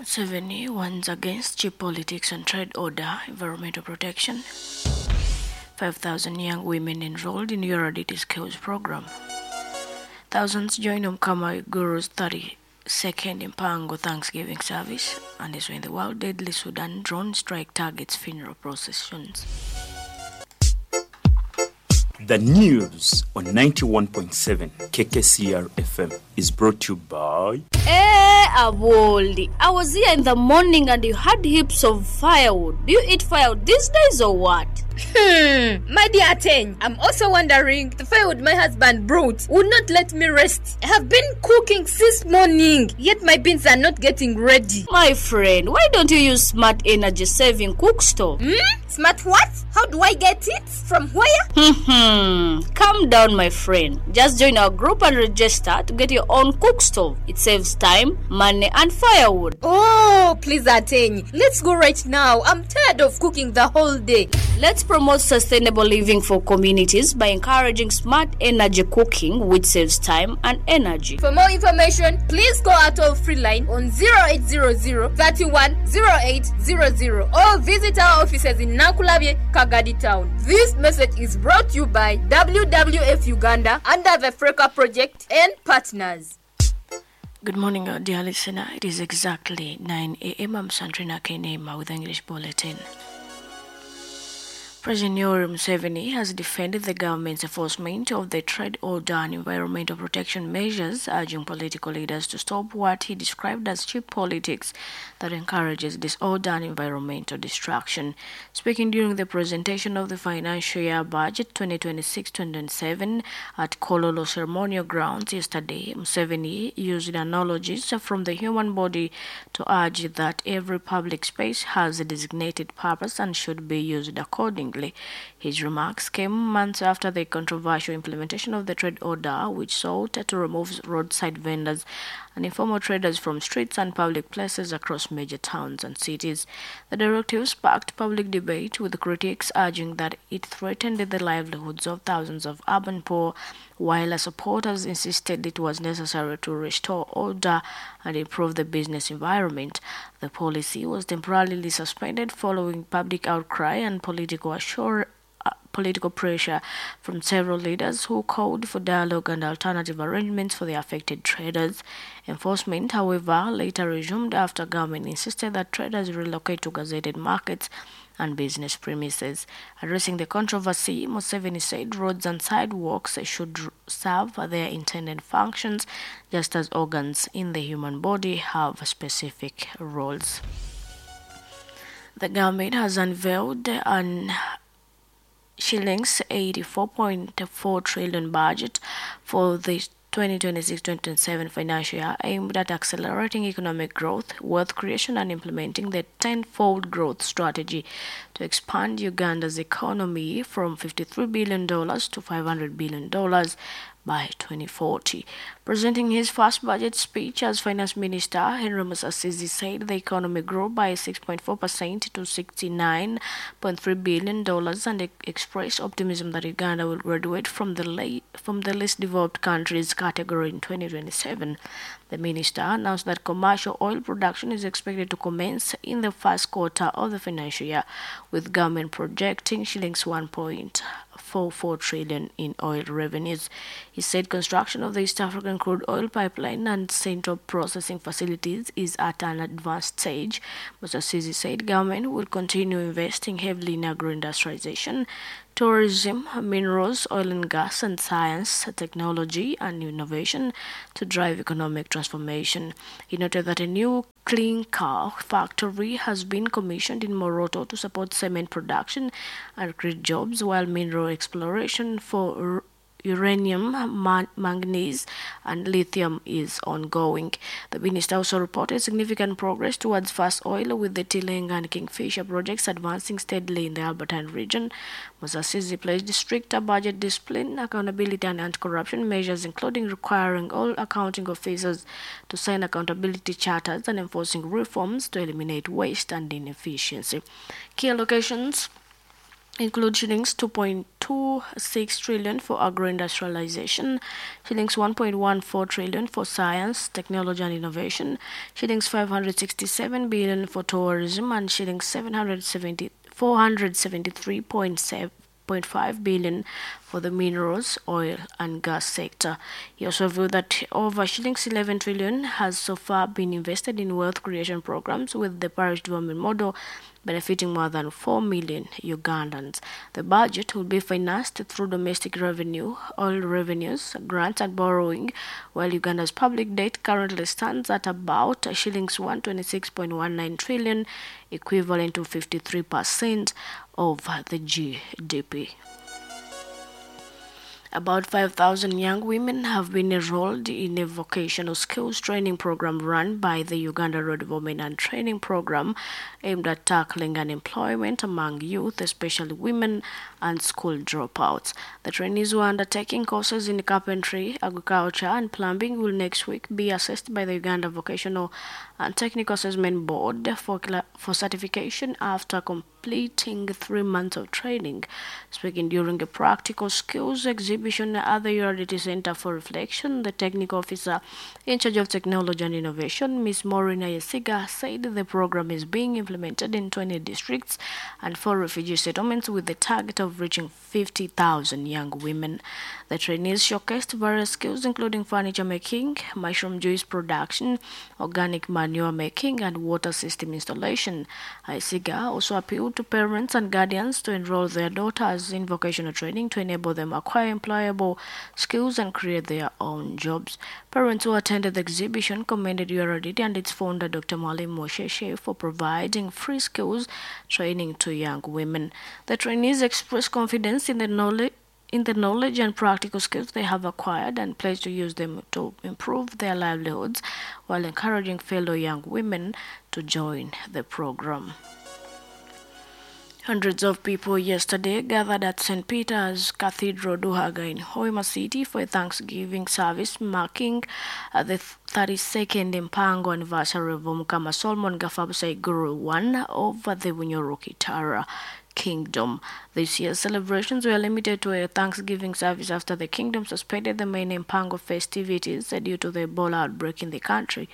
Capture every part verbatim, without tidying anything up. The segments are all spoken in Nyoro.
Museveni warns against cheap politics and trade order, environmental protection. five thousand young women enrolled in U R D T Skills program. Thousands join Omukama Guru's thirty-second Empango Thanksgiving service, and is when the world deadly Sudan drone strike targets funeral processions. The news on ninety-one point seven K K C R F M is brought to you by... Hey, Awoli, I was here in the morning and you had heaps of firewood. Do you eat firewood these days or what? Hmm, my dear Ateng, I'm also wondering, the firewood my husband brought would not let me rest. I have been cooking since morning, yet my beans are not getting ready. My friend, why don't you use smart energy saving cook stove? Hmm? Smart what? How do I get it? From where? Hmm, calm down, my friend. Just join our group and register to get your own cook stove. It saves time, money, and firewood. Oh, please, Ateng, let's go right now. I'm tired of cooking the whole day. Let's promote sustainable living for communities by encouraging smart energy cooking, which saves time and energy. For more information, please call our toll-free line on zero eight zero zero, thirty-one, zero eight zero zero or visit our offices in Nankulabye, Kagadi Town. This message is brought to you by W W F Uganda under the FRECA project and partners. Good morning, dear listener. It is exactly nine A M. I'm Sandrina Kenema with English Bulletin. President Yoweri Museveni has defended the government's enforcement of the trade order and environmental protection measures, urging political leaders to stop what he described as cheap politics that encourages disorder and environmental destruction. Speaking during the presentation of the financial year budget twenty twenty-six twenty twenty-seven at Kololo Ceremonial Grounds yesterday, Museveni used analogies from the human body to urge that every public space has a designated purpose and should be used accordingly. His remarks came months after the controversial implementation of the trade order, which sought to remove roadside vendors and informal traders from streets and public places across major towns and cities. The directive sparked public debate, with critics urging that it threatened the livelihoods of thousands of urban poor, while supporters insisted it was necessary to restore order and improve the business environment. The policy was temporarily suspended following public outcry and political assure, uh, political pressure from several leaders who called for dialogue and alternative arrangements for the affected traders. Enforcement, however, later resumed after government insisted that traders relocate to gazetted markets and business premises. Addressing the controversy, Museveni said roads and sidewalks should serve their intended functions, just as organs in the human body have specific roles. The government has unveiled an shillings eighty-four point four trillion budget for the twenty twenty-six twenty twenty-seven financial year, aimed at accelerating economic growth, wealth creation, and implementing the tenfold growth strategy to expand Uganda's economy from fifty-three billion dollars to five hundred billion dollars by twenty forty. Presenting his first budget speech as finance minister, Henry Musasizi said the economy grew by six point four percent to sixty-nine point three billion dollars and e- expressed optimism that Uganda will graduate from the, la- from the least developed countries category in twenty twenty-seven. The minister announced that commercial oil production is expected to commence in the first quarter of the financial year, with government projecting shillings one point four four trillion in oil revenues. He said construction of the East African crude oil pipeline and central processing facilities is at an advanced stage. Musasizi said government will continue investing heavily in agro-industrialization, tourism, minerals, oil and gas, and science, technology, and innovation to drive economic transformation. He noted that a new clean car factory has been commissioned in Moroto to support cement production and create jobs, while mineral exploration for uranium, man- manganese, and lithium is ongoing. The minister also reported significant progress towards fast oil, with the Tilenga and Kingfisher projects advancing steadily in the Albertine region. Musasizi pledged stricter budget discipline, accountability, and anti-corruption measures, including requiring all accounting officers to sign accountability charters and enforcing reforms to eliminate waste and inefficiency. Key allocations include shillings two point two six trillion for agro-industrialization, shillings one point one four trillion for science, technology and innovation, shillings five hundred sixty-seven billion for tourism, and shillings seven hundred seventy, four hundred seventy-three point seven five billion for the minerals, oil and gas sector. He also revealed that over shillings eleven trillion has so far been invested in wealth creation programs, with the parish development model benefiting more than four million Ugandans. The budget will be financed through domestic revenue, oil revenues, grants and borrowing, while Uganda's public debt currently stands at about shillings one twenty-six point one nine trillion, equivalent to fifty-three percent of the G D P. About five thousand young women have been enrolled in a vocational skills training program run by the Uganda Road Development and Training Program aimed at tackling unemployment among youth, especially women and school dropouts. The trainees who are undertaking courses in carpentry, agriculture and plumbing will next week be assessed by the Uganda Vocational and Technical Assessment Board for, for certification after completing three months of training. Speaking during a practical skills exhibition at the U R D T Center for Reflection, the technical officer in charge of technology and innovation, Miz Maureen Ayesiga, said the program is being implemented in twenty districts and four refugee settlements with the target of reaching fifty thousand young women. The trainees showcased various skills including furniture making, mushroom juice production, organic manure making and water system installation. Ayesiga also appealed to parents and guardians to enroll their daughters in vocational training to enable them acquire employable skills and create their own jobs. Parents who attended the exhibition commended U R D T and its founder, Doctor Mwalimu Musheshe, for providing free skills training to young women. The trainees expressed confidence in the knowledge in the knowledge and practical skills they have acquired and pledged to use them to improve their livelihoods while encouraging fellow young women to join the program. Hundreds of people yesterday gathered at Saint Peter's Cathedral, Duhaga in Hoima City for a Thanksgiving service marking uh, the thirty-second Empango anniversary of Omukama Solomon Gafabusai Guru I of the Bunyoro Kitara Kingdom. This year's celebrations were limited to a Thanksgiving service after the kingdom suspended the main Empango festivities due to the Ebola outbreak in the country.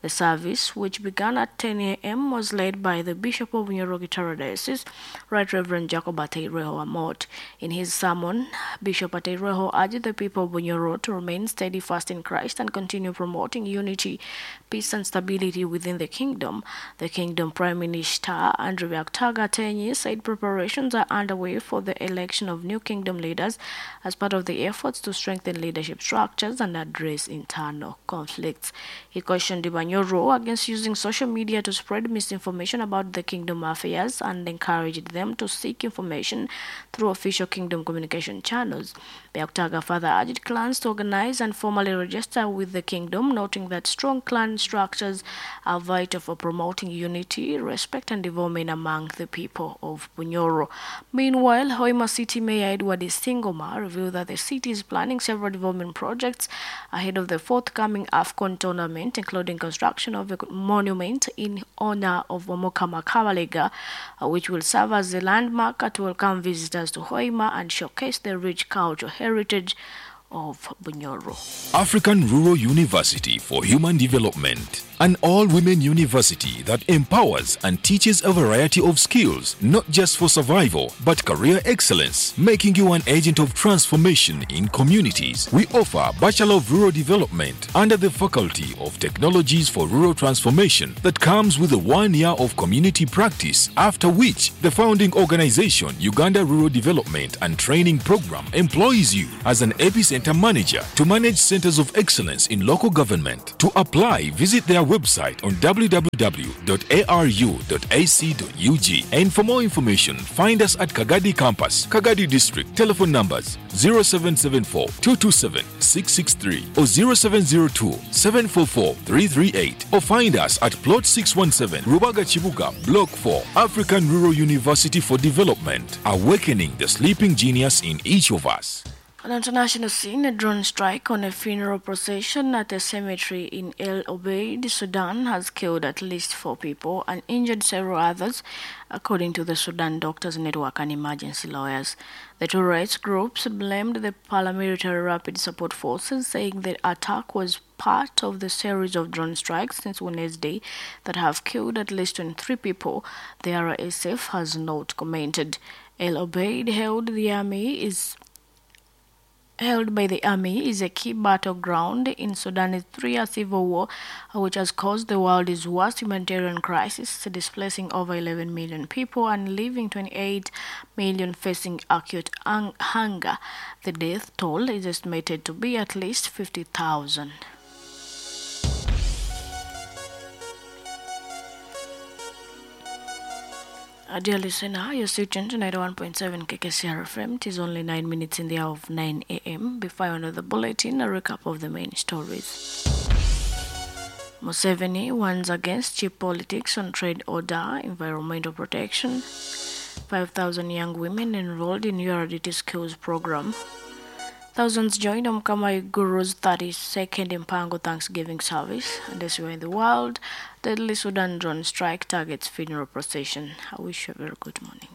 The service, which began at ten A M, was led by the Bishop of Bunyoro Kitara Diocese, Right Reverend Jacob Ateireho Amot. In his sermon, Bishop Ateireho urged the people of Bunyoro to remain steadfast in Christ and continue promoting unity, peace and stability within the kingdom. The kingdom Prime Minister, Andrew Byakutaga Ateenyi, said preparations are underway for the election of new kingdom leaders as part of the efforts to strengthen leadership structures and address internal conflicts. He cautioned Bunyoro against using social media to spread misinformation about the kingdom affairs and encouraged them to seek information through official kingdom communication channels. Byakutaga further urged clans to organize and formally register with the kingdom, noting that strong clan structures are vital for promoting unity, respect and development among the people of Bunyoro. Meanwhile, Hoima City Mayor Edward Isingoma revealed that the city is planning several development projects ahead of the forthcoming AFCON tournament, including construction of a monument in honor of Omukama Kabalega, which will serve as a landmark to welcome visitors to Hoima and showcase the rich cultural heritage of Bunyoro. African Rural University for Human Development, an all-women university that empowers and teaches a variety of skills, not just for survival, but career excellence, making you an agent of transformation in communities. We offer Bachelor of Rural Development under the Faculty of Technologies for Rural Transformation that comes with a one year of community practice, after which the founding organization, Uganda Rural Development and Training Program, employs you as an epicenter manager to manage centers of excellence in local government. To apply, visit their website on w w w dot a r u dot a c dot u g, and for more information, find us at Kagadi Campus, Kagadi District. Telephone numbers zero seven seven four, two two seven, six six three or zero seven zero two, seven four four, three three eight, or find us at Plot six one seven, Rubaga Chibuga, Block four, African Rural University for Development, awakening the sleeping genius in each of us. On the international scene, a drone strike on a funeral procession at a cemetery in El Obeid, Sudan, has killed at least four people and injured several others, according to the Sudan Doctors Network and emergency lawyers. The two rights groups blamed the paramilitary Rapid Support Forces, saying the attack was part of the series of drone strikes since Wednesday that have killed at least twenty-three people. The R S F has not commented. El Obeid held the army is held by the army is a key battleground in Sudan's three-year civil war, which has caused the world's worst humanitarian crisis, displacing over eleven million people and leaving twenty-eight million facing acute hunger. The death toll is estimated to be at least fifty thousand. Dear listener, you're still tuned to ninety-one point seven K K C R F M. It is only nine minutes in the hour of nine A M. Before I end the bulletin, a recap of the main stories. Museveni warns against cheap politics on trade order, environmental protection. five thousand young women enrolled in U R D T skills program. Thousands joined Omukama Guru's thirty-second Empango Thanksgiving service. And as we are in the world, deadly Sudan drone strike targets funeral procession. I wish you a very good morning.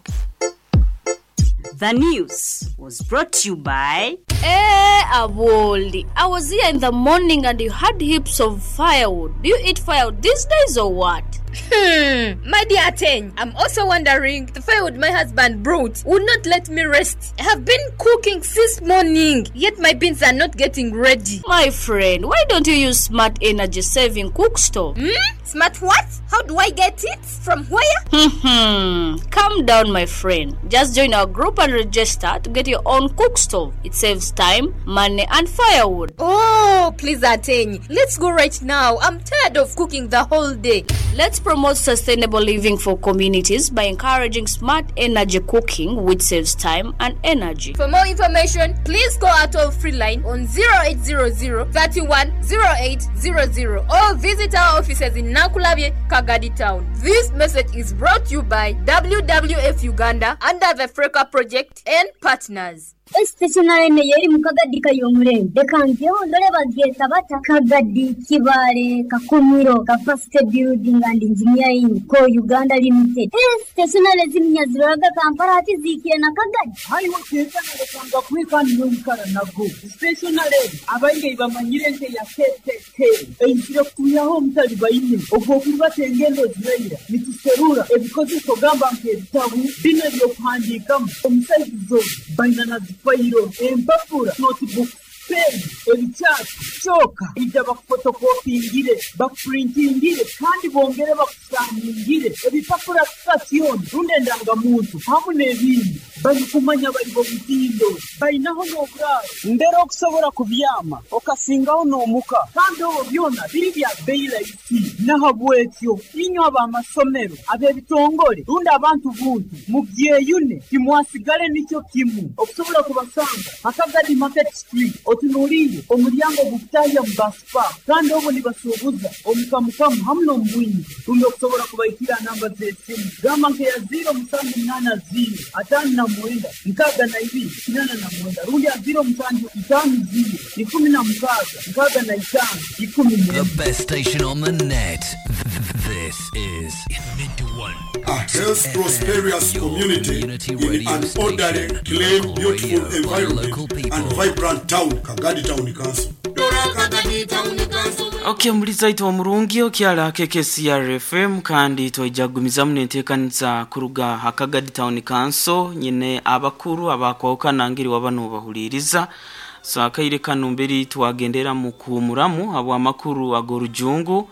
The news was brought to you by... Hey, Awoli, I was here in the morning and you had heaps of firewood. Do you eat firewood these days or what? Hmm, my dear Ten, I'm also wondering, the firewood my husband brought would not let me rest. I have been cooking since morning, yet my beans are not getting ready. My friend, why don't you use smart energy saving cook stove? Hmm? Smart what? How do I get it? From where? Hmm, calm down, my friend. Just join our group and register to get your own cook stove. It saves time, money, and firewood. Oh, please, Ateng, let's go right now. I'm tired of cooking the whole day. Let's promote sustainable living for communities by encouraging smart energy cooking, which saves time and energy. For more information, please call our toll-free line on zero eight zero zero, thirty-one, zero eight zero zero or visit our offices in Nakulabye, Kagadi Town. This message is brought to you by W W F Uganda under the Freka Project and partners. Stationary yeri mukagadi kayomure dekangyo ndole bageta bata Kagadi Kibale Kakumiro Capacity Building and Engineering ko Uganda Limited. Stationary ziminyaziraga Kampala ati zikire na Kagadi hayi wakeza ndekanga kwikani n'omukara nago stationary abainge bamanyire nte ya K K K enkire kuyaho omutali baine ogwo kubatengendo ziraira nituserura ebikozeso gamba nk'ebitabu bino ebyokuhandiikamu omusaizi baina na fayiro empapura notebook pen ebikyatu kyoka ijja bakufotokopingire bakupurintingire kandi bongere bakusaningire ebipapura sitasioni rundi endangamuntu hamu n'ebindi balikumanya bali bomutindo balinaho n'oburaaro mbere okusobola kubyama okasingaho n'omuka kandi obwo byona biri bya bbeeyi rahisi nahabwekyo inywe ab'amasomero ab'ebitongole rundi abantu buntu mubyeyune timwasigale nikyo kimu okusobola kubasanga Akagadi Market Street otunuulire omulyango gukutahya mu baspa kandi obwo nibasuubuza omukamukamu hamu n'omubwingi rundi okusobola kubaikira namba z'esimu gamba nkeya ziro musanju munaana ziro ataano na mwenda nkaaga na ibiri kinana na mwenda rundi ya ziro musanju itaano ziro ikumi na mukaaga nkaaga na itaano ikumi The best station on the net. This is a health prosperous community in an orderly, clean, beautiful environment and vibrant town, Kagadi Town Council. Okay, muliza itwa murungi okyala K K C R F M kandi twajagumizamu nenteekaniza kuruga Kagadi Town Council nyine abakuru abakwawukana ngiri wabano bahuliriza. So akaire kano mberi twagendera mu kuhumuramu abo amakuru agorujungu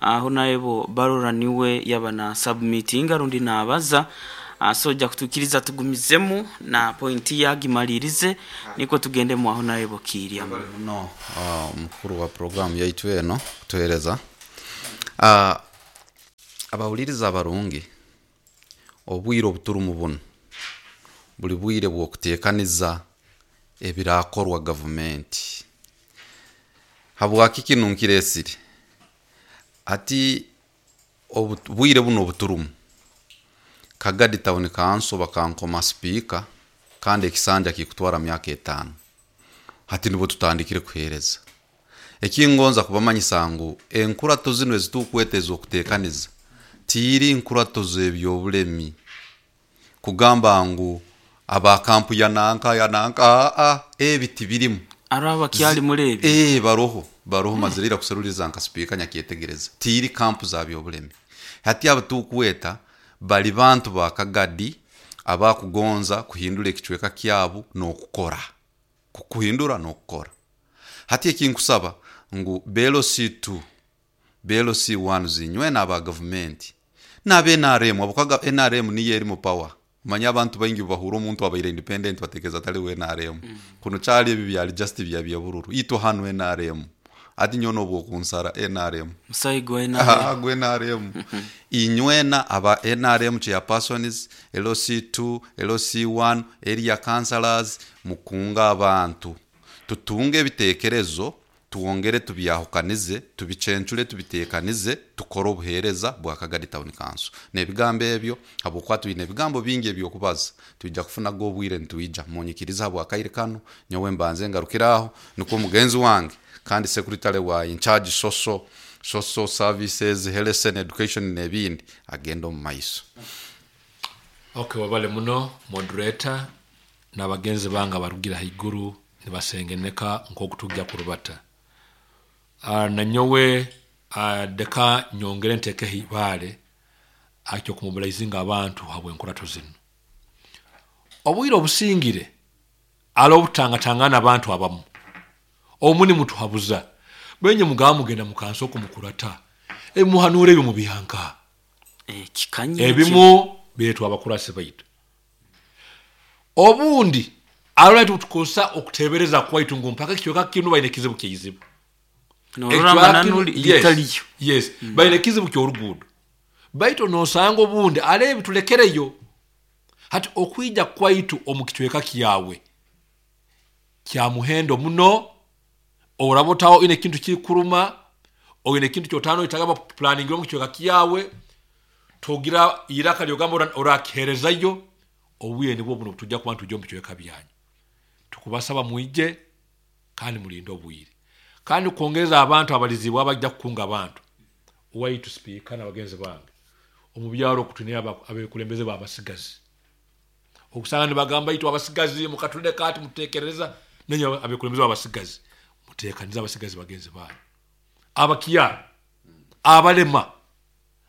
aho naebo barora niwe yabana submitting arundi nabaza soja kutukiriza tugumizemu na pointi yagimalirize niko tugende mu aho naebo kirya no uh, mukuru wa program yaitu eno kutuhereza uh, abahuliriza abarungi obwire obuturu buno buli bwire bw'okuteekaniza ebirakorwa gavumenti habwaki kinu nkiresire ati obwire buno obuturumu Kagadi Town Council bakankoma speaker kandi ekisanja kikutwara myaka etaano. Hati nibo tutandikire kuhereza. Ekingonza kubamanyisa ngu enkurato zino ezitukweteza okutekaniza tiiri nkurato z'ebyobulemi kugamba ngu abakampu ya nanka ya nanka a ebi tibirimu araba kyali murebi eh baroho baroho mm. Mazirira kuseruliza nka speaker nyakyetegereza tiiri kampu za byobulemi. Hati abatukweta bali bantu bakagadi abakugonza kuhindura ekicweka kyabu n'okukora kuhindura n'okukora. Hati ekinkusaba ngu belo C two belo C one zinywe n'aba government n'abe N R M abukaga N R M niyo eri mu power. Manya abantu baingi bahura omuntu abaire independent batekeza tali we N R M. Mm. Kuno kyali ebi byali just bya bya bururu ito hano N R M ati nyono bwokunsara N R M musayi gwe N R M ah gwe N R M inywena aba N R M chairpersons L C two L C one area councillors mukunga abantu tutunge ebitekerezo tuwongere tubyahukanize tubicencure tubitekanize tukora obuhereza bwa Kagadi Town Council. Nebigambo ebyo habwokuba twine ebigambo bingi ebyokubaza tujja kufuna go obwire ntwija munyikiriza habwa kaire kano nyowe mbanze ngarukiraho niko mugenzi wange kandi secretary wa in charge social social services health and education nebindi agenda mu maiso. Okay, wabale muno moderator n'abagenzi banga barugira haiguru nibasengeneka nk'okutujja kurubata. Uh, na nyowe uh, deka nyongere nteke hibale akyo kumobilizinga abantu habwe enkurato zino. Obwire obusingire alo obutangatangana abantu abamu omuni mutuhabuza benye mugaba mugenda mukanso kumukurata emuhanure ebyo mu bihanka eh kikanye ebimu betu abakurase baitu obundi alo tukosa okutebereza kwaitu ngu mpaka kiyoka kinu baine kizibu kizibu yes, yes. Mm. Baine kizibu ky'oruguudo baito nosanga obundi alebi tulekereyo hati okwija kwaitu omukitweka kiyawe kya muhendo muno orabotaho ine kintu kikuruma oine kintu kyotano itagaba planning omu kitweka kiyawe togira iraka lyogamba orakiherezayo obuye nibwo buno tujja kuba tujja mu kitweka byanyu tukubasaba muije kandi mulinde obwire kandi kuongeza abantu abalizibwa abajja kukunga abantu waitu speaker na bagenzi bange omubyalo okutunia abekulembeze babasigazi okusanga ne bagamba itu abasigazi mukatulinde kati mutekereza nenye abekulembeze babasigazi mutekaniza abasigazi bagenzi bange abakiya abalema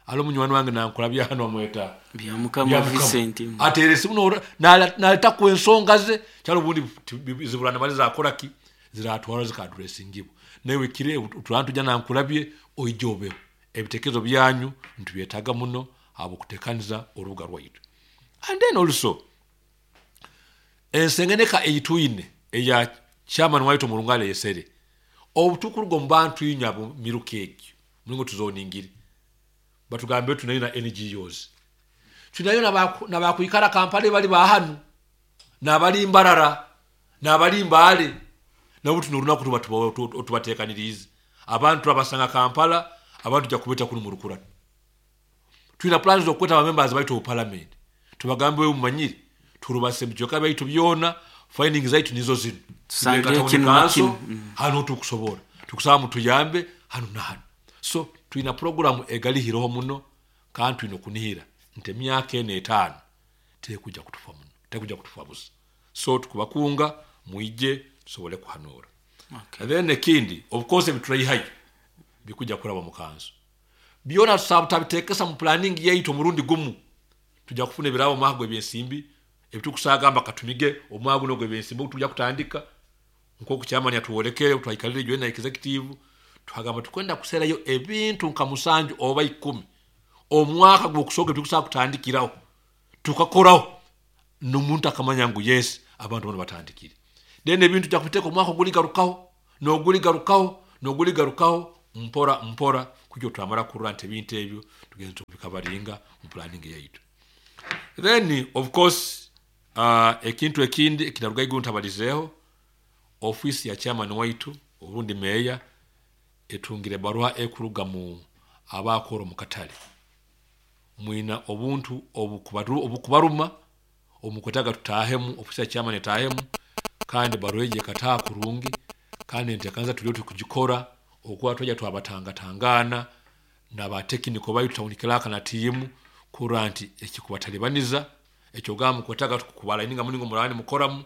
alo munywani wange nankola byano amweta bya mukama Vincent atere simuno naleta ku ensonga ze kyalo bundi zibulana maliza akoraki ziratwara zika addressingibo nawe kire utulantu jana nkulabye oijobe ebitekezo byanyu ntubyetaga muno abo kutekaniza orubuga rwaitu. And then also ensengeneka eyituine eya chairman waitu murungale yesere obutukurugo mbantu inyabo mirukeki mulingo tuzoningiri batugambe tunayo na N G Os tunayo na bakuikara Kampala bali bahanu na bali Mbarara na bali Mbale na butu norunaku tubatekanirize abantu abasanga Kampala abantu ja kubeta kunu murukura tulina plans zokweta ba members baitu parliament tubagambe umanyire turubase mjoka baitu byona findings zaitu nizo zino tusange kinu kinu hano tukusobora tukusaba mutuyambe hano na hano. So tulina program egali hiroho muno kandi tulina kunihira nte myaka ene etaano tekuja kutufa muno tekuja kutufa busa. So tukubakunga muije tusobole kuhanura. Okay. And then ekindi of course ebiturayihayo bikuja kuraba mu kanso byona tusaba mu planning yaitu omurundi gumu tujja kufuna ebirabo omwaka ebyensimbi ebitukusagamba katumige omwaka guno gw'ebyensimbi tujja kutandika nkoku chairman yatuwolekere twaikalire join na executive twagamba tukwenda kuserayo ebintu nka musanju oba ikumi omwaka gw'okusooka tukusaba kutandikirawo tukakorawo n'omuntu akamanya ngu yes abantu bano batandikire. Then ebintu tujja kubiteeka omwaka oguligarukaho n'oguligarukaho n'oguligarukaho mpora mpora kujya twamara kurura nti ebintu ebyo tugenze tubikabaringa mu planning yaitu. Then of course uh, ekintu ekindi ekinaruga iguru ntabalizeho office ya chairman waitu obundi meya etungire barua ekuruga mu abakoro mu katale mwina obuntu obukubaru obukubaruma omukwetaga tutahemu office ya chairman etahemu Kandi baroje kataa kurungi kandi ntekanza tulio tukujikora okuwa toja twabatangatangana na batekiniko baitu town clerk na tiimu kuranti ekikubatalibaniza ekyogamu kwetaka tukubala ininga muningo mulani mukoramu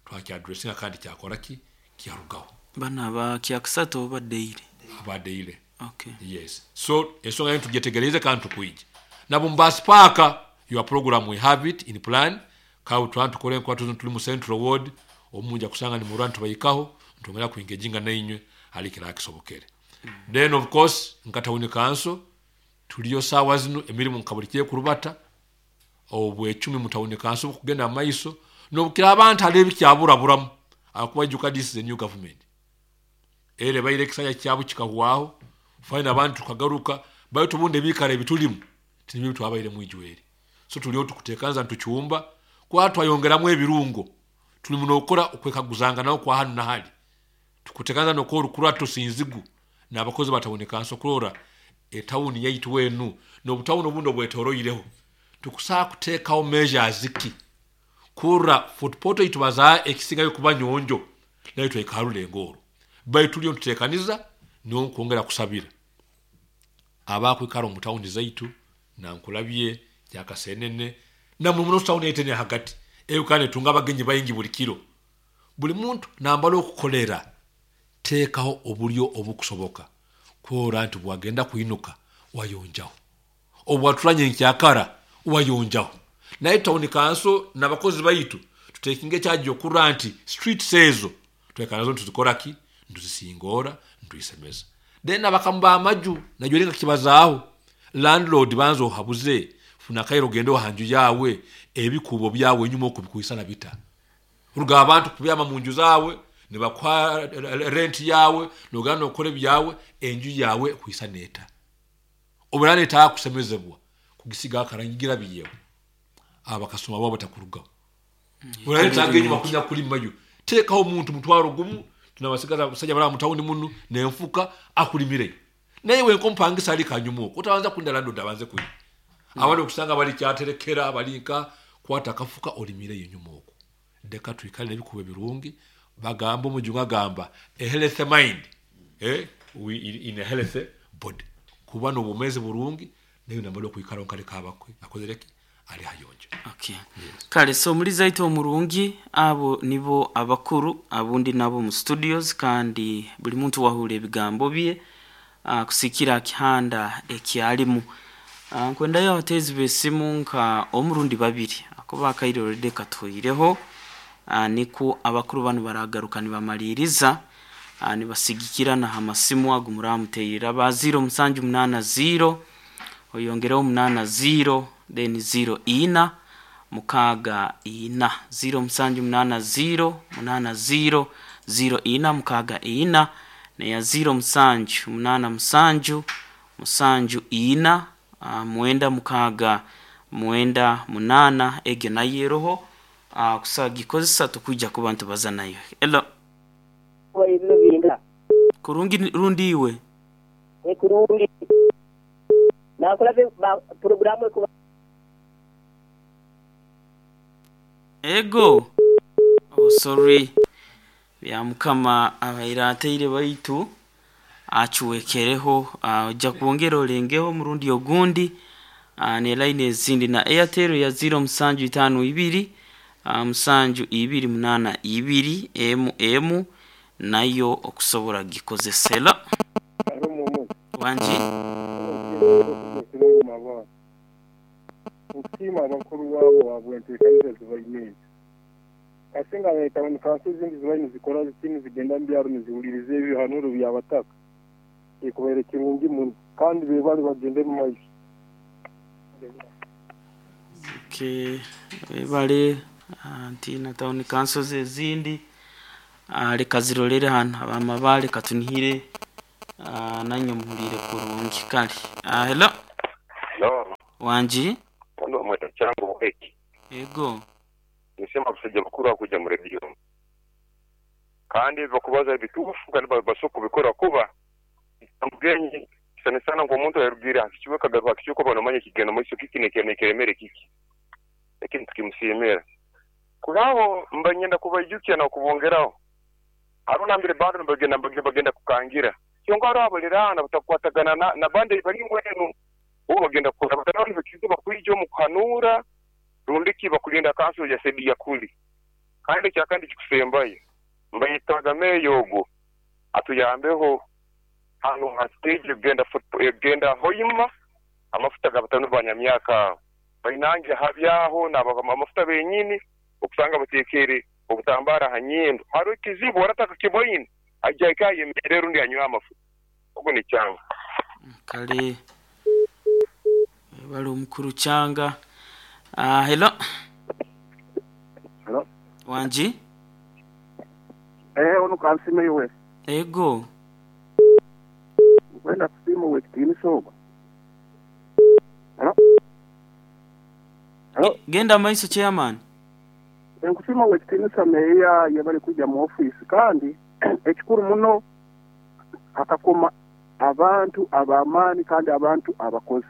twaki addressinga kandi kyakora ki kyarugaho bana ba kyakusato badeire abadeire. Okay. Yes. So ensonga yetu tujetegereze kandi tukuije nabo mbasipaka your program we have it in plan kawo twantu kore kwa tuli mu Central Ward omunja kusanga ni murantu bayikaho ntongera kuengejinga nainywe alikira akisobokere. Mm. Then of course nkatawuni kanso tuliyo sawa zino emirimu nkabulikiye kurubata obwecumi mutawuni kanso kugenda maiso nobukira abantu alebi kyaburaburamu akuba juka this is a new government ere baire kisanya kyabu kikahwaho fine abantu kagaruka bayo tubunde bikare bitulimu tinibyo twabaire mwijweri. So tuliyo tukutekanza ntuchumba kwa twayongeramu ebirungo tuli munokora okwekaguzanga nawo kwa hanu na hali tukutekanza nokora kurwa tusinzigu nabakozi batawoneka nso kurora etawuni yaitu wenu nobutawuni obundo bwetoroireho tukusaa kuteekawo measures ki kura footpoto itubaza ekisingayo kuba nyonjo nayo twekarule engoro baitu tuliyo tutekaniza niyo kwongera kusabira abakwikara mu tawuni zaitu na nkulabye kyakasenene na muno tawuni etene hagati eyo kane tunga abagenyi bayingi buli kiro buli muntu nambalo okukolera teekaho obulyo obukusoboka kwora nti bwagenda kuinuka wayonjaho obwatulanye nkyakara wayonjaho naye tawuni kanso n'abakozi baitu tutekinge kyajo okura nti street sezo twekanazo tuzikora ki ntuzisingora ntuisemeza then abakamba amaju najwerenga kibazaaho landlord banzo habuze funa kairo gendo hanju yawe ebikubo byawe nyuma okubikuisana bita uruga abantu kubyama mu nju zawe ne bakwa rent yawe nogana okole byawe enju yawe kuisaneta obulane ta kusemezebwa kugisiga akarangira biyewe abakasoma babo batakuruga bulane tange nyuma kunya kulimayo tekaho omuntu mutwaro gumu tunabasigaza basajja bala mutawuni munu nenfuka akulimire naye we nkompangisa ali kanyumo utaanza kunda landlord abanze kuyi mm. Abandi okusanga bali kyaterekera balinka kwata kafuka olimire yenyuma okwo ndeka tuikale nebikuba birungi bagamba omujunga gamba a healthy mind eh we in a healthy body kuba no bumeze burungi nayo nambalo kuikara onkale kabakwe akozereki ali hayonje. Okay. Yes. Kale so muri zaito omurungi abo nibo abakuru abundi nabo mu studios kandi buli muntu wahule ebigambo bye uh, kusikira kihanda ekyalimu uh, nkwendayo abatezi besimu nka omurundi babiri akoba kairo rede katuireho uh, niku abakuru bano baragaruka nibamaliriza uh, nibasigikira na hamasimu agumuramuteyira ba zero musanju munana zero oyongereho munana zero then zero ina mukaga ina zero musanju munana zero munana zero zero ina mukaga ina na ya zero musanju munana musanju musanju ina uh, muenda mukaga muenda munana egyo nayeroho uh, kusagikozesa tukujja ku bantu bazanayo. Hello kurungi rundi iwe e kurungi nakulabe programu ekuba ego. Oh sorry bya mukama abairateire baitu achuwekereho ojja uh, kuongera olengeho murundi ogundi uh, ne line ezindi na Airtel ya zero musanju itano ibiri uh, musanju ibiri munana ibiri m m nayo okusobola gikozesela wanji Ntima abakuru wabo wabwentekaniriza zibaine asinga leta kanso zindi zibaine zikora zitini zigenda mbyaro niziwuliriza ebihanuro byabataka ekubaire kirungi muno kandi bebali bagende mu maiso. Okay, bebale anti na town council ezindi leka zirolere hano abamabale katunihire nanyo muhulire kurungi kale. Hello hello wanji ndo mweta changu eki ego nisema busajja bukuru akuja mu radio kandi bakubaza ebitufu kandi basoko bikora kuba mugenyi sana sana ngo omuntu yarugira akikiwe kagaruka akikiwe bano manye kigenda mu kiki nekeremere kiki lakini tukimusimera Kulabo mbanyenda kubaijukya na kubongeraho. Haruna mbere bado nibagenda bagenda kukangira. Kyonka abo lirana batakwatagana na, na bande bali mwenu. Bo bagenda kukora batanoni bakizuba kuijo mu kuhanura rundiki bakulinda kanso ya sedi ya kuli. Kandi kyakandi kikusembaye. Mbayitaga meyogo atuyambeho hano ha stage genda football genda hoyima amafuta gabatanu banyamyaka bainange habyaho nabagama amafuta benyini okusanga batekere obutambara hanyindo haro kizibu warataka kiboyini ajya yemerero ndi anywa amafuta ubwo ni cyanga kale bali omukuru cyanga. Ah, hello. Hello. Wanji? Eh, ono kansime yowe. Ego. Wenda kusimu wekitini soba. Hello. Hello. Genda maiso chairman. Nkusima wekitini sameya yabali kuja mu office kandi ekikuru muno akakoma abantu abamani kandi abantu abakozi.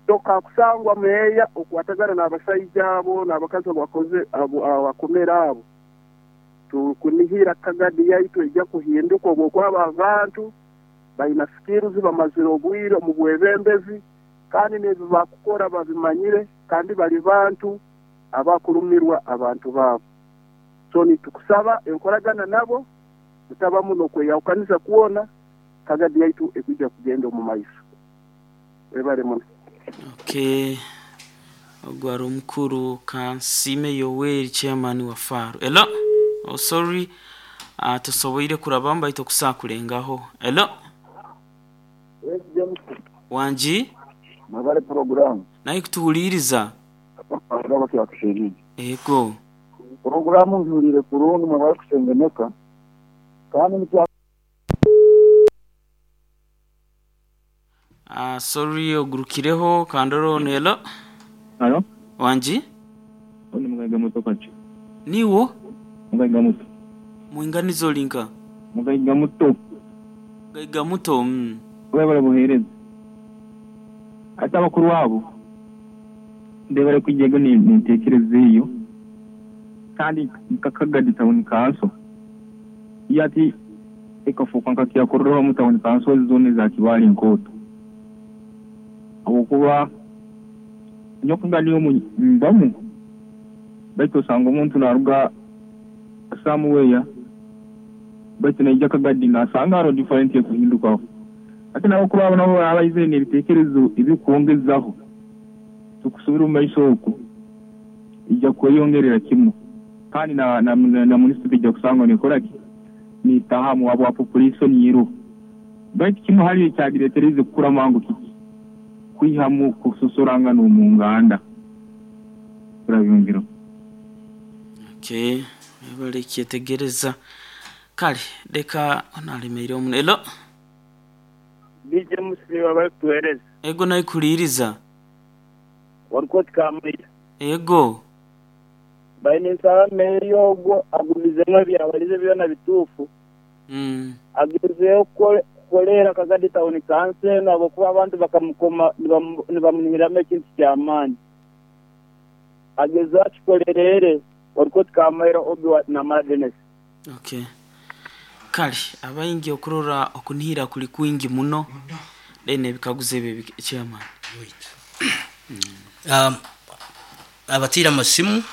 Toka kusangwa meya okwatagana n'abasajja abo n'abakazi abakoze abo abakomera abo. Tukunihira Kagadi yaitu ejja kuhinduka obwokwaba abantu balina skills bamazire obwire mu bwebembezi kandi n'ebyo bakukora babimanyire kandi bali bantu abakulumirwa abantu babo. So nitukusaba enkoragana nabo mutabamu n'okweyawukaniza kuona Kagadi yaitu ekujja kugenda omu maiso. Webale muno. Okay. Ogwaro mukuru Kansime Yoweri chairman wa Faro. Hello. Oh sorry. Uh, tusoboire kurabamba ito kusakulengaho. Hello. Yes, James. Wanji? Mabale program. Naye kutuhuliriza. Ababa kyakushirije. Ego. Programu nzulire kurungu mabale kusengeneka. Kandi nikya Ah, uh, sorry ogurukireho kandoro nelo. Hello. Wanji? Oni mugaiga muto kachi. Niwo? Mugaiga muto. Muinganizo linka. Mugaiga muto. Mugaiga muto. Mm. Webale buhereza. Ate abakuru abo ndebare kwijego ni ntekereze iyo kandi Kagadi Town Council yati ekafuka nkakiyakoreraho mu Town Council zone za Kibali Nkoto awokuba nyokunga niyo mbamu baitu osanga omuntu naruga somewhere baitu naija Kagadi nasanga haro different ekuhindukaho ate nabo kuba abo nabo abaizire n'ebitekerezo ebikwongezaho tukusubira omu maiso oku ijja kweyongerera kimu kandi na na, na, na municipal ijja kusanga nekoraki nitahamu wabo wa population yiro baitu kimu hali ekyagireetereze kukura mangu kiki kwihamu kusosoranga n'omu nganda turabyongera. Okay, bali kyetegereza kale leka onalemeire omuno. Hello. D J Muslim abali kutuhereza. Ego naye kuliriza. Warukoti kamira. Ego. Baine nsaba meyo ogwo agumizemu ebyabalize byona bituufu. Mm. Agezeyo kukolera Kagadi Town Council nabo kuba abantu bakamukoma nibamunihiramu ekintu ky'amaani. Agezeyo akikolerere Warukoti kamira obi na Madness. Okay. Kale abayingi okurora okunihira kuli kwingi muno then ebikaguzo ebyo chairman. Um, abatira amasimu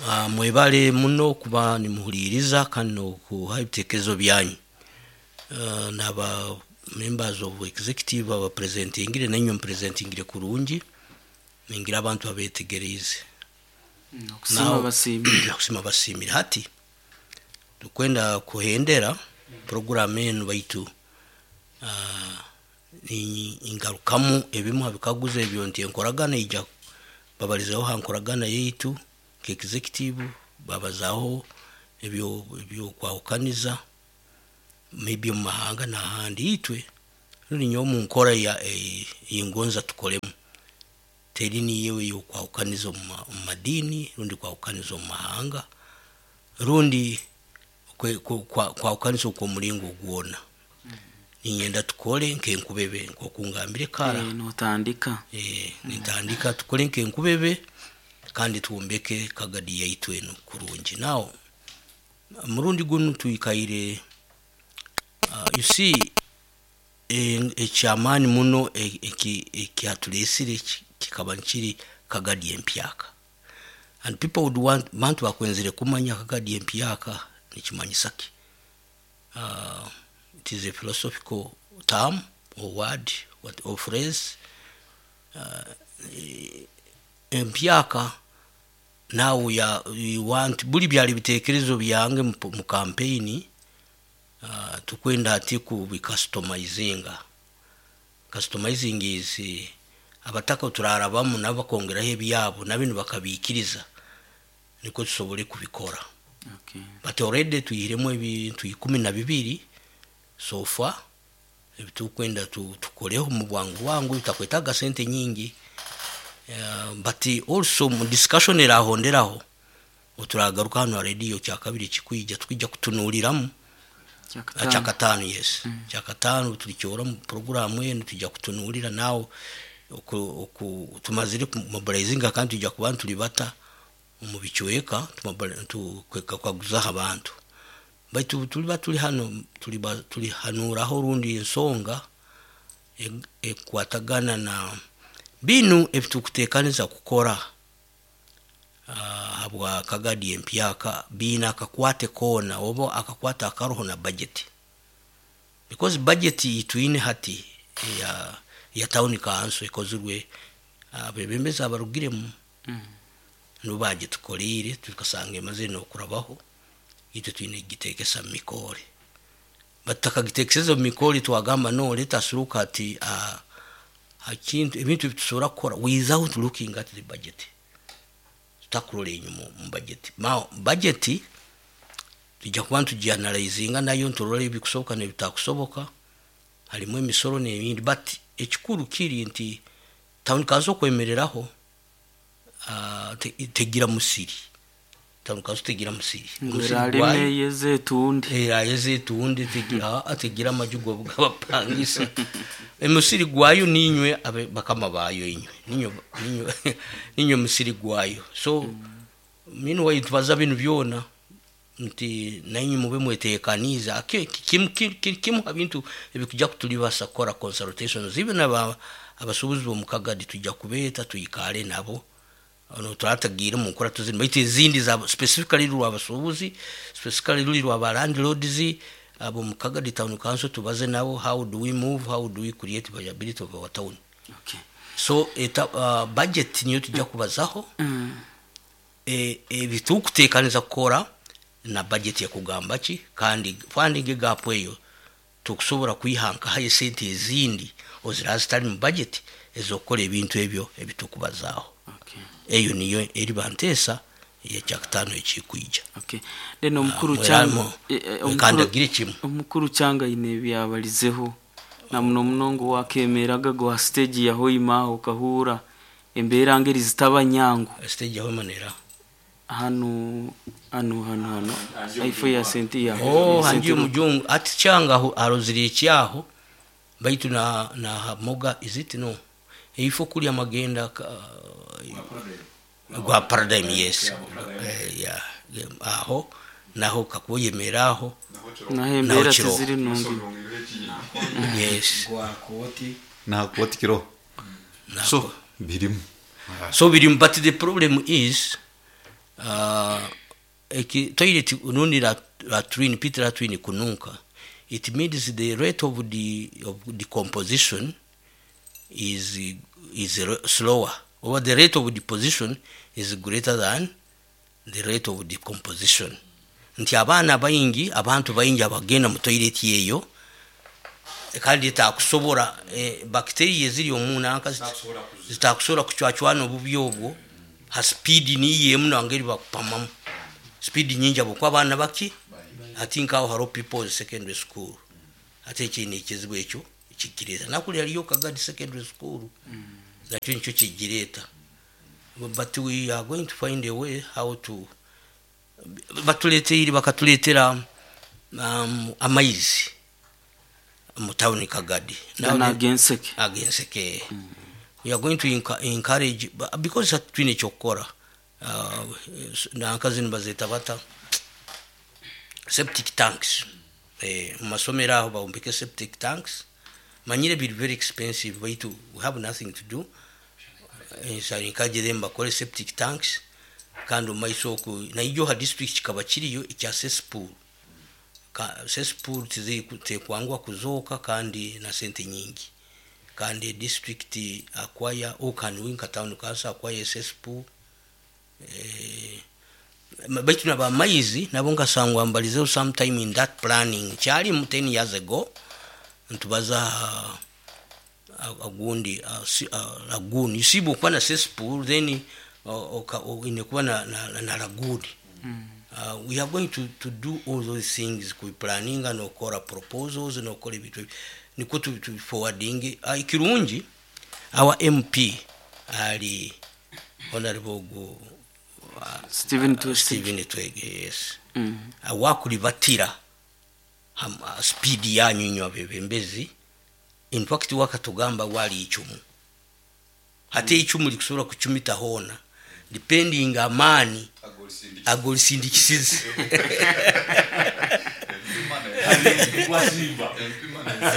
uh, mwebale muno kuba nimuhuliriza kandi nokuha ebitekerezo byanyu. Uh, naba members of executive aba presentingire nanywe mpresentingire kurungi ningira abantu abetegereze okusima basimire okusima basimire hati tukwenda kuhendera program enu baitu uh, ingarukamu ebimu habikaguzo ebyo nti enkoragana ija babalizaho hankoragana yaitu ke executive babazaho ebyo ebyo kwahukaniza maybe mu mahanga n'ahandi itwe ruri nyo mu nkora ya ingonza tukolemu teri niyewe yo kwahukaniza mu madini rundi kwahukaniza mu mahanga rundi kwahukaniza kwa mulingo gwona ninyenda tukole nkenkubebe nkokungambire kara eh notandika eh nitandika tukole nkenkubebe Kandi twombeke Kagadi yaitu eno kurungi. Now murundi gunu tuikaire, uh, you see, ekyamaani muno ekyatuleesire kikaba nkiri Kagadi empyaka, and people would want, bantu bakwenzire kumanya Kagadi empyaka nikimanyisa ki. uh, it is a philosophical term or word, what, or phrase. uh, empyaka now ya you want buli byali bitekerezo byange mu campaign. uh, tukwenda ati ku customizinga. Customizing is uh, abataka turarabamu nabo bakongeraho ebyabo nabino bakabikiriza, niko tusobole kubikora. Okay. But already tuyiremu ebintu ikumi na bibiri so far ebitukwenda tukoleho mu bwangu bwangu bitakwetaga sente nyingi. Uh, but also mu discussion erahonderaho oturagaruka hano radio kyakabiri kikwija tukwija kutunuliramu kyakatano. Yes, mm. Kyakatano tulikyora mu programu eno tujja kutunulira nawo oku tumazire mobilizinga kandi tujja kuba tulibata mu bichweka tukwekaguza abantu. Baitu tuliba tuli hano tuliba tulihanuraho rundi ensonga ekwatagana na binu ebitukuteekaniza kukora uh, habwa Kagadi empyaka bina akakwate kona oba akakwata akaroho na budget, because budget itwine hati ya ya town council ekozirwe abebembezi abarugiremu mm. nubaje tukolire tukasanga emaze no kurabaho itwe twine gitekesa mikore batakagitekeseza mikore twagamba no let us look at uh, akintu ebintu bitusobola kukora without looking at the budget. Tutakurora enyuma mu budget. Ma budget tujja kuba tugianalyzinga nayo nturora ebikusoboka n'ebitakusoboka, harimu emisoro n'ebindi, but ekikuru kiri nti town council kwemereraho uh, te, tegira musiri. Town council tegira musiri. Ngweralime yezetundi era yezetundi tegira ategira amajugo bw'abapangisa. Emusiri gwayo ninywe abe bakama bayo inywe ninyo ninyo ninyo musiri gwayo. So mm. minu wayitwaza binu byona nti nanyi mube mwetekaniza kim kim kim abintu ebikuja kutulibasa kora consultations even aba abasubuzi bo mukagadi tujja kubeta tuyikale nabo ono turatagira mu nkora tuzini baitu izindi za specifically rwa abasubuzi, specifically ruli rwa landlords abo mukagadi town council tubaze nabo how do we move, how do we create viability of our town. Okay. So eta, uh, budget niyo tujja kubazaho mm. e ebitukutekaniza kukora na budget ya kugamba ki kandi funding gap eyo tukusobola kuyihanka haye sente ezindi ozira zitali mu budget ezokola ebintu ebyo ebitukubazaho. Okay. Eyo niyo eri bantesa yekyakutano ekikwija. Okay. Then omukuru cyanga omukuru kimu omukuru cyanga ine byabalizeho na muno munongo wakemeraga gwa stage ya hoima okahura embera ngeri zitaba nyangu stage ya hoima nera hano hano hano hano ifo ya senti ya oh hangi mujungu ati cyanga aroziriye cyaho baitu na na moga is it no ifo kuli amagenda gwa paradigm. Yes, eh, ya aho naho kakuyemeraho nahembera tiziri nungi. Yes, gwa koti na koti kiro so birimu so birimu, but the problem is uh, eki toilet unundi la latrine pit latrine kununka, it means the rate of the of decomposition is is slower, or the rate of deposition is greater than the rate of decomposition. Nti abaana bayingi abantu bayingi abagenda mu toilet yeyo kandi takusobora eh, bacteria ziri omunanka zitakusobora kuchwachwana obubi obwo ha speed niye muno angeri bakupamamu speed nyingi abo kwa abaana baki. I think how haro people secondary school ate ekindi ekizibu ekyo kikireta nakuli aliyo Kagadi secondary school mm. nakyo nikyo kigireta, but we are going to find a way how to batuleteire bakatuletera um, amaizi mu town Kagadi na agenseke agenseke mm. We are going to encourage because twine kyokora uh, nanka zinu bazeta bata septic tanks eh, mu masomero aho bawombeke septic tanks manyire biri very expensive baitu we have nothing to do. Enkaje them bakole septic tanks kandi omumaiso oku naijo ha district kikaba kiriyo ekya cesspool. Cesspool tekwangwa kuzooka kandi na sente nyingi, kandi district acquire okanwinka town council acquire cesspool eh, baitu naba maizi nabo nkasangwa mbalizeho sometime in that planning kyali mu ten years ago ntubaza agundi lagoon. You see bwokuba na cesspool then inekuba na, na, na lagoon. Mm. Uh, we are going to, to do all those things kuplaninga nokora proposals nokora ebintu niko tu, tu forwarding. Uh, ikirungi our M P ali honorable go uh, Stephen Twege, Stephen Twege, yes. Mm. Uh, wakulibatira um, uh, speed yanyu nyo abebembezi. In fact wakatugamba wali ichumu hate mm. ichumu likusobola kuchumita hona depending amani agolisindikisize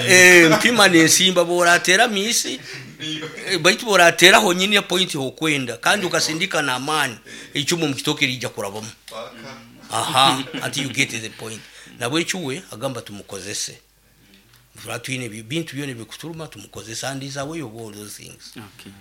eh mpima nensimba boratera misi baitu boratera honyini ya point hokwenda kandi ukasindika na amani ichumu mukitoke lija kurabamu. Aha, until you get to the point. Nabwe chuwe agamba tumukozese tuine bintu byone bikuturuma tumukozesa and is away of all those things. Okay.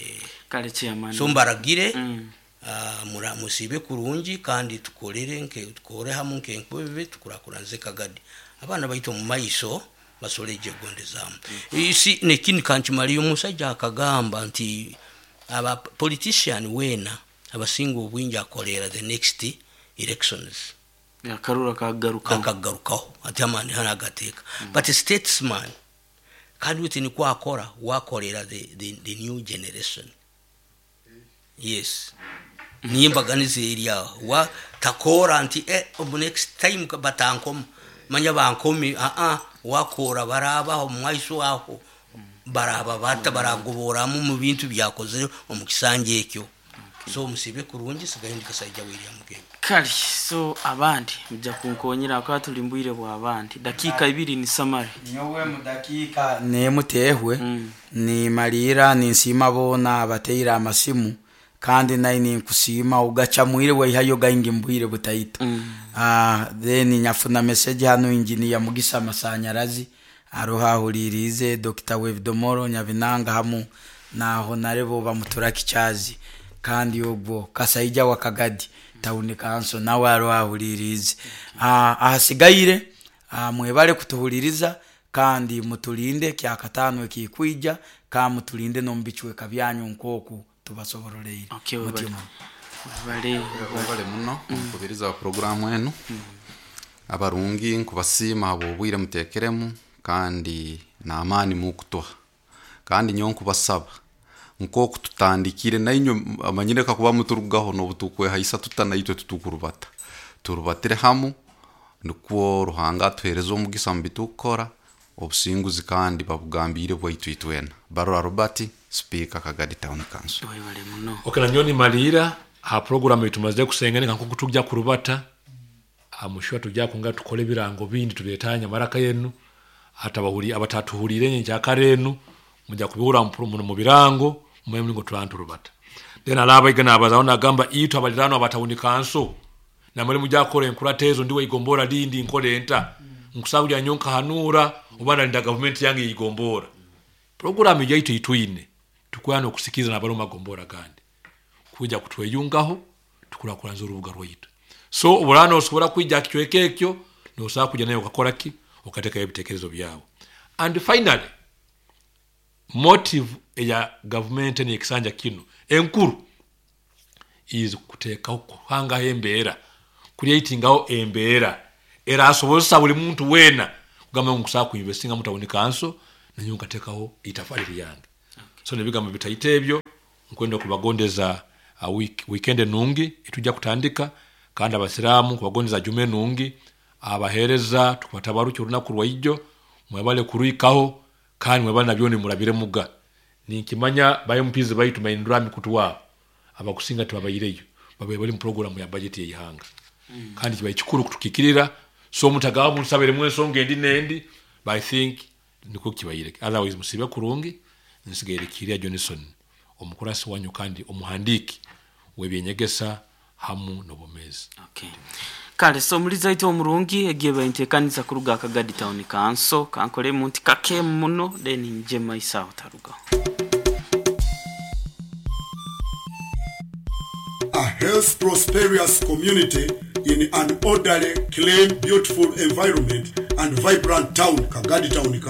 Eh, kale chairman so mbaragire mm. uh, mura musibe kurungi kandi tukolere nke tukore hamu nke nkwebe tukurakuranze Kagadi abana baito mu maiso basoleje gondezamu. Mm. Isi nekini kanchimali omusajja akagamba nti aba politician wena abasinga obwingi akolera the next elections akarura kagarukaho akagarukaho ati amani hanagateka. Mm. But a statesman kandi uti ni kwakora wakorera the, the, the new generation. Yes. Nimbaganize area wa takora nti eh next time batankom manya bankomi a a wakora barabaho mwaiso aho baraba bata baragoboramu mu bintu byakoze omukisanje ekyo. So musibe kurungi sigaindi kasajja William Mugenyi. Kali so abandi mujja kunkonyera akaba tulimbwire bwa abandi dakika ibiri ni summary nyowe mu dakika nemutehwe mm. ni malira ni nsima bona abateira amasimu kandi nayi nkusima ugacha mwire weihayo gaingi mbwire butaita. Mm. Ah, then nyafuna message hano engineer Mugisa Masanyarazi aroha hulirize Doctor Wevdomoro Nyavinanga hamu na honarebo bamuturaki chazi kandi ogwo kasaija wa Kagadi town council nawe arohulirize. Ah, ahasigaire ah, mwebale kutuhuliriza kandi mutulinde kyakatano ekikwija ka mutulinde no mbichweka byanyu nkoku tubasoboroleire. Okay, webale webale muno nkubiriza programu enu. Mm. Abarungi nkubasima abo bwire mutekeremu kandi naamani mukutoha kandi nyo nkubasaba nkoku tutandikire nainyo amanyire kakuba muturugaho nobutukwe haisa tutanaitwe tutukurubata turubatire hamu nukwo Ruhanga atuhereza omugisa mu bitukora obusinguzi kandi babugambire bwaitu itwena. Barora Robert, Speaker Kagadi Town Council. Webale muno. Okay, na nyoni malira ha program itumaze kusengene nko kutujja kurubata amushwa tujja kunga tukole birango bindi tubetanya maraka yenu atabahuri abatatuhulire nje karenu mujja kubihura mu birango mwe mulingo tulantu rubata. Then alaba igana abazaona agamba itu abalirano abatawuni kanso na muri mujja kore enkuratezo ndiwe igombora lindi nkole enta nkusabulya nyonka hanura obana linda government yange igombora program yaitu ituine tukwana okusikiza na baloma gombora gandi kuja kutweyungaho tukurakuranza urubuga rwaitu. So obulano osobola kwijja kichweke ekyo nosobola kujja nayo okakora ki okateka ebitekerezo byawe. And finally motive ya government ni ekisanja kino enkuru is kuteeka kuhanga embeera creatingaho embeera era asobosa buli muntu wena kugamba nkusaba kuinvestinga mu town council nanyo nkatekaho itafali lyange. Okay. So nebigambo bitaite ebyo nkwenda kubagondeza uh, week, weekend nungi itujja kutandika kandi abasiramu kubagondeza jume nungi abahereza tukubatabaruki olunaku lwaijo mwebale kuruikaho kandi mwebale nabyoni murabire muga ninkimanya bayo mpizi baitu mahindura mikutu wabo abakusinga tubabayireyo Babaire bali mu programu ya budget y'eihanga mm. Kandi kibaire kikuru kutukikirira, so mutagaba musabiremu ensonga endi n'endi, but I think nikwo kibaire. Otherwise musibe kurungi. Nsigaire Kiria Johnson, omukurasi wanyu kandi omuhandiki w'ebyenyegesa hamu n'obumezi. Okay. Kale, so muliza ito omurungi, egiye baintekaniza kuruga Akagadi Town Council, kankole muntu kake muno then nje maisa otaruga. A health prosperous community in an orderly, clean, beautiful environment and vibrant town, Kagadi Town.